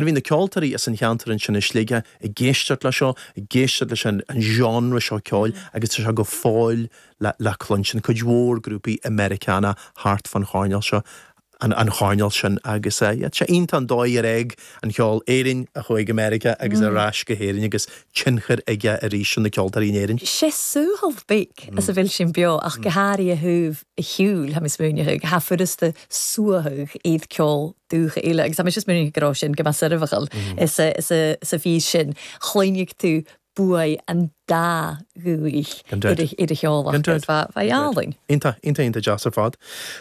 Bhí na ceoltóirí as an cheantar ansin i Sligeach ag éisteacht le seo, ag éisteacht leis an genre seo ceoil agus tá sé go fóill le cluinstin, cuid mhór grúpaí i Meiriceánach thart fán choirnéal seo, an choirnéal sin agus yeah, tá sé iontach an dóigh ar fhág an cheol Éirinn a chuaigh go Meiriceá agus ar ais go hÉirinn agus tionchar aige arís ar na ceoltóirí in Éirinn. Sé suaitheadh beag as a bhfuil sin beo ach go háirithe thaobh a shiúil, tha mi smaoineachadh, tha furasta suaitheadh iad ceol dúiche eile agus tá mise smaoineachadh go raibh sin go mbeadh soirbheachal sa bhfís sin. Chluinfidh tú buaidh an dá dhúich ar a cheol agus bheadh álainn. Iontach, iontach, iontach deas ar fad.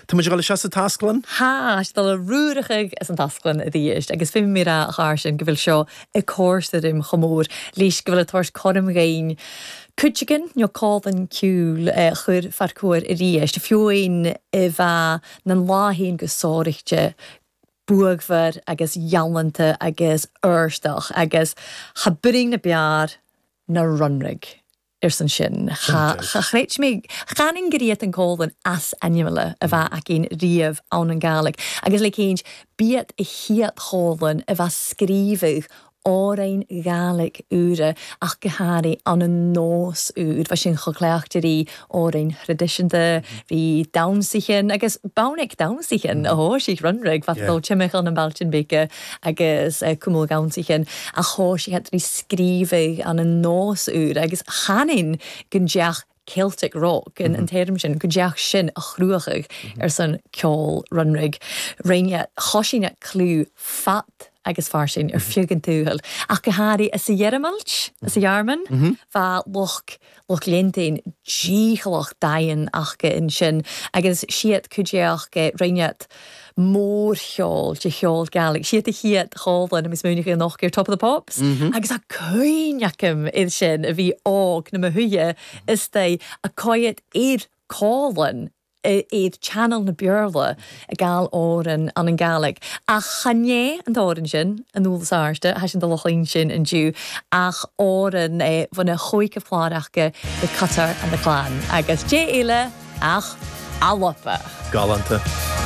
Tá muid ag dul isteach sa taisclann. Tha, 's dul a ruaireachadh as an taisclann a dh'éist agus feumaidh mi ràdh a chàrr sin go bhfuil seo ag còmharsa rim cho mór leis go bhfuil a' tabhairt cothrom dhainn cuideigin nó còmhlan ceoil a chuir Farquhar a-rithist, fiù-amhain a bheadh nan lá fhèin gu sòraichte buadhmhar agus ghalánta agus ùrstach agus cha b'rinn na beàrr ná Runrig arsan sin. Cha chreid mé, chan gur iat an còmhlan as ainmeala a bheadh againn riamh ann an Gàidhlig agus le céint b'iat a chiad chòmhlan a bheadh scríobhadh òrain Ghàidhlig úra ach go hàraidh ann an nós úr. Bha sin cho cleachta ri òrain thraidisiúnta, ri damhsaichean agus b'ann damhsaichean a thoisigh Runrig, bha dul timcheall nam bailte beaga agus cumhal dhamhsaichean ach thoisigh ri scríobhadh ann an nós úr agus chan fhinn gun deach Celtic rock, an téarma sin, go dteach sin a chruachadh ar son ceol Runrig. Rinne choisín clú fat agus fairsing ar feadh an tsaoil, ach go háirithe sa Ghearmailt, sa Ghearmáin, bha lucht lucht leantain dícheallach daighean aca ansin agus siad cuideachta rinneadh mórcheol de cheol Gaelic. Siad a chiad chomhlann a smaoineochaidh anocht ar Top of the Pops agus tá cuimhne agam air sin a bhí óg na mo shuidhe istigh a coiad ar comhlann ar channel na Béarla ag gabháil òran ann an Gaelic. Ach chan é an t-òran sin an eolas airde, tha sinn dul a chluinstin indiu ach òran bhain a chóic a chlár aca The Cutter and the Clan agus dè eile ach Alba. Galánta.